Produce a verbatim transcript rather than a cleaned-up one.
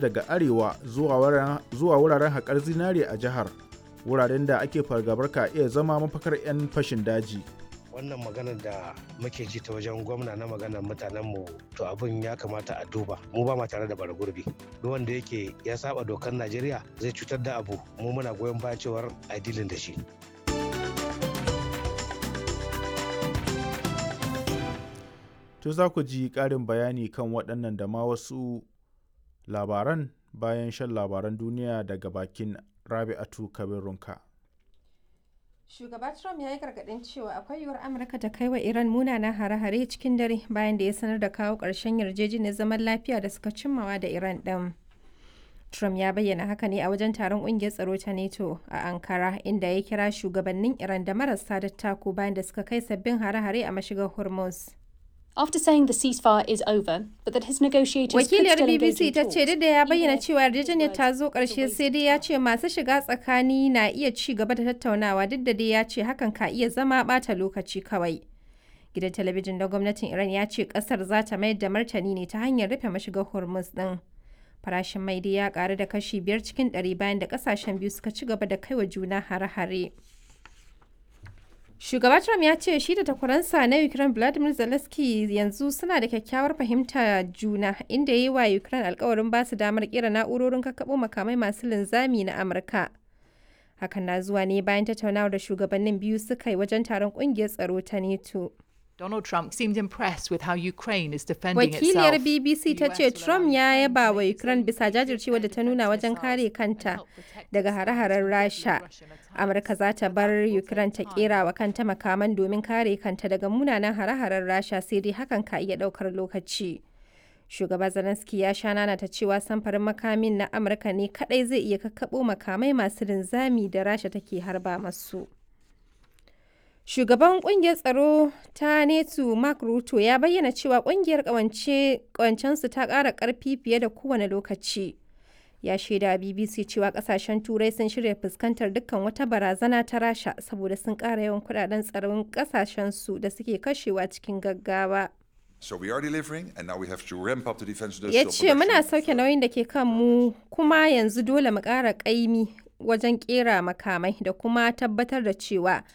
Daga arewa zuwa wuraren haƙar zinare a jihar, wuraren da ake fargabar ka iya zama mafakar 'yan fashin daji. Wannan maganar da muke ji ta wajen gwamna na maganar mutanenmu, to abin ya kamata a duba. Mu ba ma tare da bara gurbi. Duk wanda yake ya saba dokar Najeriya zai cutar da abu, mu muna goyon bayan cewar a dilin da shi. To za ku ji ƙarin bayani kan waɗannan da ma wasu labaran bayan shan labaran duniya daga bakin Rabi'atu Kabir Runka. Shugaba Trump ya yi gargaɗin cewa akwai yiwuwar Amurka ta kai wa Iran munanan hare-hare cikin dare bayan da ya sanar da kawo ƙarshen yarjejeniyar zaman lafiya da suka cimmawa da Iran ɗin. Trump ya bayyana haka ne a wajen taron ƙungiyar tsaro ta NATO a Ankara, inda ya kira shugabannin Iran da marasa dattako bayan da suka kai sabbin hare-hare a mashigar Hormuz. After saying the ceasefire is over, but that his negotiators could Wakiliyar still engage B B C in ta ce talks. duk da ya bayyana cewa yarjejeniyar ta zo ƙarshe, sai dai ya ce masu shiga tsakani na iya ci gaba da tattaunawa, duk da dai ya ce hakan ka iya zama ɓata lokaci kawai. Gidan talabijin na gwamnatin Iran ya ce ƙasar za ta mayar da martani ne ta hanyar rufe mashigar Hormuz ɗin. Farashin mai dai ya ƙaru da kashi biyar cikin ɗari bayan da ƙasashen biyu suka ci gaba da kaiwa juna hare-hare. Shugaba Trump ya ce shi da takwaransa na Ukraine Vladimir Zelensky yanzu suna da kyakkyawar fahimta juna, inda ya yi wa Ukraine alkawarin ba su damar kera na'urorin kakkaɓo makamai masu linzami na Amurka. Hakan na zuwa ne bayan tattaunawar da shugabannin biyu suka yi wajen taron ƙungiyar tsaro ta NATO. Donald Trump seemed impressed with how Ukraine is defending Wakiliyar itself. B B C ta ce Trump ya yaba wa Ukraine bisa jajircewa da ta nuna wajen kare kanta daga hare-haren Rasha. Amurka za ta bar Ukraine ta kera wa kanta makaman domin kare kanta daga munanan hare-haren Rasha, sai dai hakan ka iya daukar lokaci. Shugaba Zelensky ya sha nana ta cewa samfarin makamin na Amurka ne kadai zai iya kakkaɓo makamai masu linzami da Rasha take harba masu. Shugaban kungiyar tsaro ta NATO Mark Rutte ya bayyana cewa kungiyar kawancensu ta ƙara ƙarfi fiye da kowane lokaci. Ya shaida B B C cewa kasashen Turai sun shirya fuskantar dukkan wata barazana ta Rasha saboda sun ƙara yawan kudaden tsaron kasashensu da suke kashewa cikin gaggawa. So we are delivering, and now we have to ramp up the defense Ya industrial ce muna production. sauke nauyin da ke kanmu, kuma yanzu dole mu ƙara ƙaimi wajen ƙera makamai da kuma tabbatar da cewa